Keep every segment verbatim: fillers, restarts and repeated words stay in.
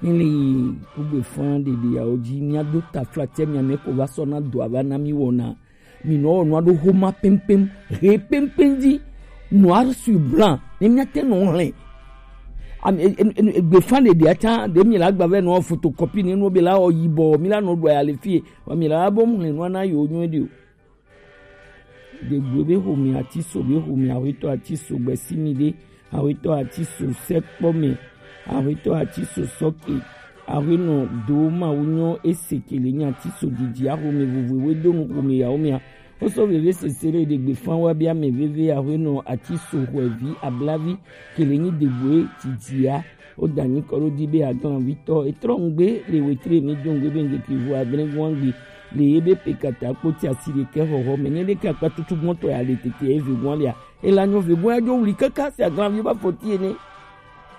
Mi le yi kugbe fan ɖeɖe yawo dzi, mia do taflatse mia mɛ ko va sɔ na do ava na mi wɔna. Mi nɔ wɔ nua ɖo homa pɛmpɛm, he pɛmpɛm dzi, nua su blan, ne mia te nɔ hlɛ. Am-, e-, e-, e-, egbe fan ɖeɖe atsa, ɖe mi la gba vɛ nɔ photocopie ne nɔ be la wɔ yibɔ, mi la nɔ ɖo ya le fie, wa mi la bɔ mu hlɛ nua na yo nyuie ɖe o. Ɖegbue be xomɛ, Atiso be xomɛ, Axwetɔ Atiso gbɛsimi ɖe, Axwetɔ Atiso sɛkpɔmɛ, Axwetɔ Atiso sɔke, Axwenɔ do Mawu nyɔ ese kele nyi Atiso didi axomɛ vovo we do nu xomɛ yawo mɛa. Wosɔ veve sese ɖe ɖegbe fan wa bia mɛ veve Axwenɔ Atiso xɔɛvi ablavi kele nyi ɖegbue didia. Wo da nyi kɔ ɖo di be aglanvitɔ etrɔ ŋgbe le wetre mi do ŋgbe be ŋgeke vo adre gwan gbe le ye be pe kata kpo ti asi ɖekɛ xɔxɔ me nye ɖeke akpa tutu gbɔntɔ ya le tete eve gwan lia. Ela nyo ve gwan ya dzo wuli kaka se aglanvi ba fɔti ene.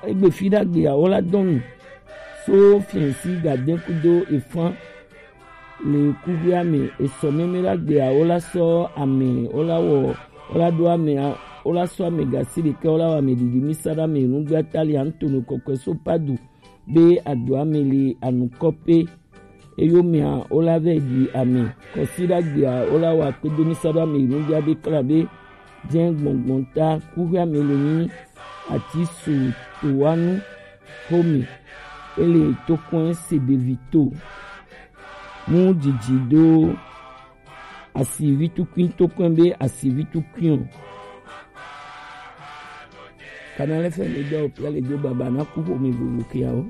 Egbe fi ɖagbe ya wo la dɔn nu. So fiɛnsi ga de kudo efan le kuxia me esɔ meme la gbea wo la sɔ ame wo la wɔ wo la ɖo ame wo la sɔ ame gasi ɖekɛ wo la wɔ ame ɖiɖi mi sa ɖa me nugbea ta li antono kɔkɔe so padu be adoa me li anukɔ pe. Eyo mea wo la vɛ ɖi ame kɔsi ɖa gbea wo la wɔ akpedo mi sa ɖa me nugbea be kla be jɛ gbɔngbɔn ta kuxia me le nyi ati su to wa nu xome ele tokɔn se ɖevi to mu dzidzi do asivi tukui tokɔn be asivi tukui o. Kana lɛ fɛ mi dɔ pia le do baba na ku xome vovo kiawo.